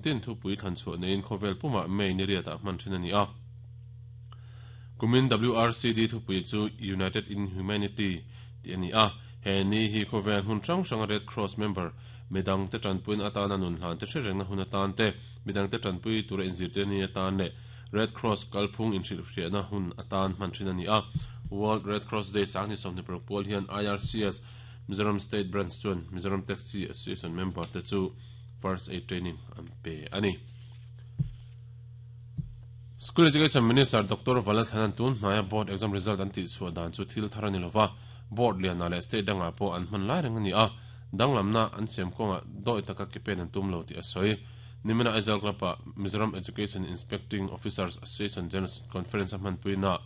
tin thupui thlan chhuah neiin khawvel pumah May ni riatah hman thin a ni a. Kumin WRCD thupui chu United in Humanity tih a ni a. He ni hi khawvel hmun hrang hranga Red Cross member midangte tanpuina atana nun hlan te hrerengna hun atan te, midangte tanpui tura inzirtir ni atan leh Red Cross kalphung inhrilhhriahna hun atan hman thin a ni a. World Red Cross Day sanghnih 26 pual hian IRCS Mizoram State Branch chuan Mizoram Taxi Association member te chu First Aid Training an pe a ni. School Education Minister Doctor Valathanan tun hnaia board exam result an tihchhuah dan chu thil thar a ni lova, board lianah leh state dangah pawh an hman lai reng a ni a, danglamna an siam kawngah dawi taka ke pen an tum lo tih a sawi. Nimina Aizawl Club-ah Mizoram Education Inspecting Officers Association General Conference a hmanpuinaah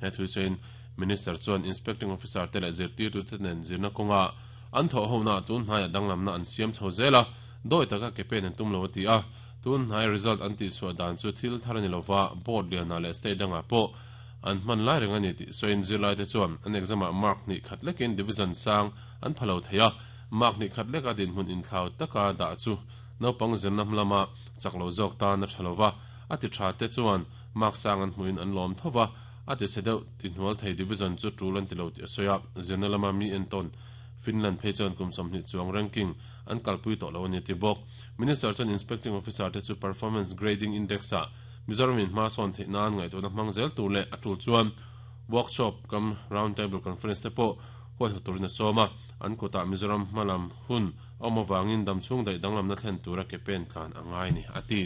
he thu sawiin Minister chuan Inspecting Officer te leh zirtirtute nen zirna kawnga an thawh honaah tun hnaiah danglamna an siam chho zel a, dawi taka ke pen an tum lo a ti a. Tun hnai result an tihchhuah dan chu thil thar a ni lova, board lianah leh state dangah pawh an hman lai reng a ni tih sawiin zirlaite chuan an exam-ah mark hnih khat lekin division sang an pha lo thei a, mark hnih khat leka dinhmun inthlau taka dah chu naupang zirna hmalama chak lo zawk tan a tha lova, a ti tha te chuan mark sang an hmuhin an lawm tho va, a ti chhe deuh ti hnual thei division chu tul an ti lo tih a sawi a, zirna lama mi entawn Finland phei chuan kum 20 chuang ranking an kalpui tawh lo a ni a ti bawk. Minister chuan Inspecting Officer te chu Performance Grading Index-ah Mizoram in hma sawn theih nan ngaihtuahna hmang zel tur leh a tul chuan workshop kam round table conference te pawh huaihawt turin a sawm a, an kutah Mizoram hmalam hun a awm avangin damchhung daih danglamna thlen tura ke pen tlan a ngai ni a ti.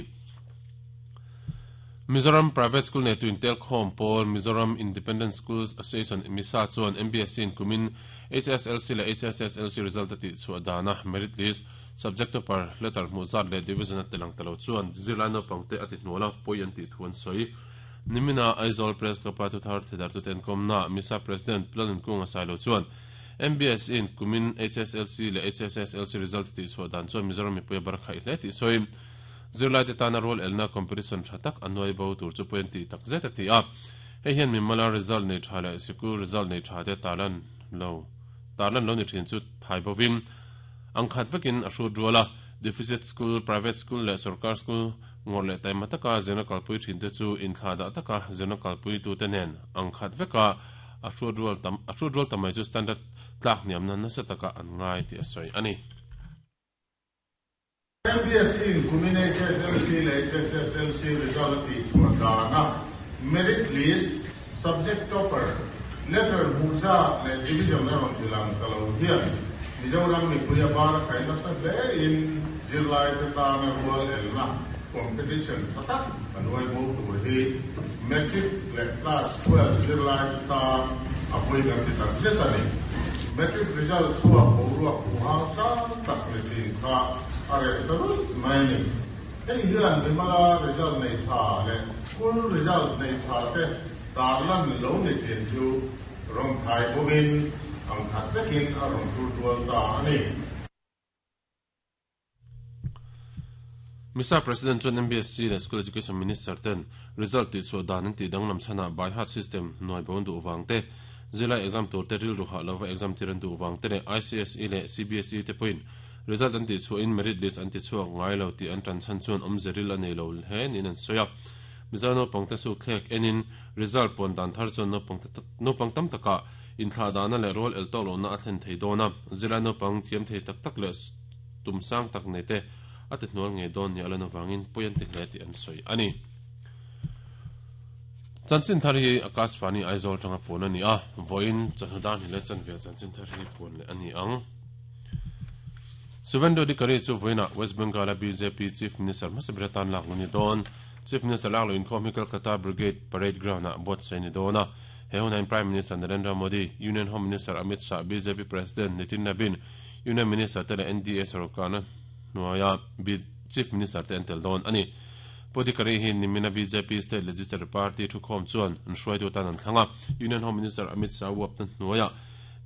Mizoram Private School neitu intelkhawm pawl Mizoram Independent Schools Association, MISA, chuan MBSE in kumin HSLC leh HSSLC result a tihchhuah dana merit list, subject topper, letter hmuh zat leh division a tilang ta lo chuan zirlai naupangte a tihnual a, pawi an tih thu an sawi. Nimina Aizawl Press Club-a thuthar thedartute an kawmnaah MISA President Lalnunkunga Sailo chuan MBSE in kumin HSLC leh HSSLC result a tihchhuah dan chuan Mizoram mipui a bar khaih hle tih sawi. Zirlaite tana rual elna competition tha tak a nuai bo tur chu pawi an tih tak zet a ti a. Hei hian mimala result nei tha leh sikul result nei tha te tarlan lo tarlan lo ni thin chu thai bovin ang khat vekin a hrut rual a. Deficit school, private school leh sorkar school ngawrh leh taima taka zirna kalpui thin te chu inthlahdah taka zirna kalpuitute nen ang khat veka a hrut rual tam a hrut rual ta mai chu standard tlak hniamna nasa taka an ngai tih a sawi a ni. MBSE in kumin HSLC leh HSSLC result a tihchhuah dana merit list, subject topper, letter hmuh zat leh division a rawn ti lang ta lo hian Mizoram mipui a bar a khai nasa hle in zirlaite tana rual elna competition tha tak a nuai bo tur hi Matric leh Class 12 zirlaite tan a pawi kan ti tak zet a ni. Matric result chhuak boruak huhang sang tak ni thin kha a reh ta ruih mai a ni. Hei hian mimala result nei tha leh school result nei tha te tarlan lo ni thin chu rawn thai bawkin ang khat vekin a rawn thur tual ta a ni. Misa President chuan MBSC leh School Education Minister ten result tihchhuah dan an tih danglam chhanah by heart system hnuai bo an duh vang te, zirlai exam tur te rilru hah lova exam tir an duh vang te leh ICSE leh CBSE te pawhin result an tihchhuahin merit list an tichhuak ngai lo tih an tan chhan chuan awmze ril a nei lo hle niin an sawi a. Mizo naupangte sukthlek enin result puan dan thar chuan naupang tam takah inthlahdahna leh rual el tawk lohna a thlen thei dawn a, zirlai naupang thiam thei tak tak leh tum sang tak nei te a ti hnual ngei dawn nia lan avangin pawi an ti hle tih an sawi a ni. Chanchin thar hi Akashvani Aizawl tanga puan a ni a, vawiin chawhnu dar hnih leh chanve chanchin thar hi puan leh a ni ang. Suvendu Adhikari chu vawiinah West Bengal-a bjp Chief Minister hmasa ber atan lak lo ni dawn. Chief Minister lak lo inkhawm hi Kolkata Brigade Parade Ground-ah buatsaih a ni dawn a. He hunah Prime Minister Narendra Modi, Union Home Minister Amit Shah, bjp President Nitin Nabin, Union Minister te leh NDA sorkarna hnuaia Chief Minister te an tel dawn a ni. Pu Adhikari hi nimina bjp State Legislature Party thukhawm chuan an hruaitu atan an thlang a, Union Home Minister Amit Shah uapna hnuaia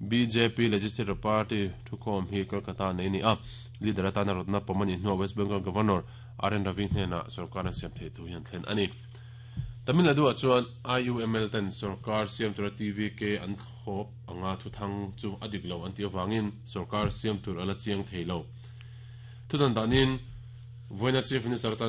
bjp Legislature Party thukhawm hi Kolkata nei a ni a, leader atana rawtna pawm a nih hnuah West Bengal Governor RN Ravi hnenah sorkar an siam theih thu hi an thlen a ni. Tamil Nadu-ah chuan IUML ten sorkar siam tura TVK an thlawp anga thuthang chu a dik lo an tih avangin sorkar siam tur a la chiang thei lo. Thudan danin vawiina Chief Minister atana.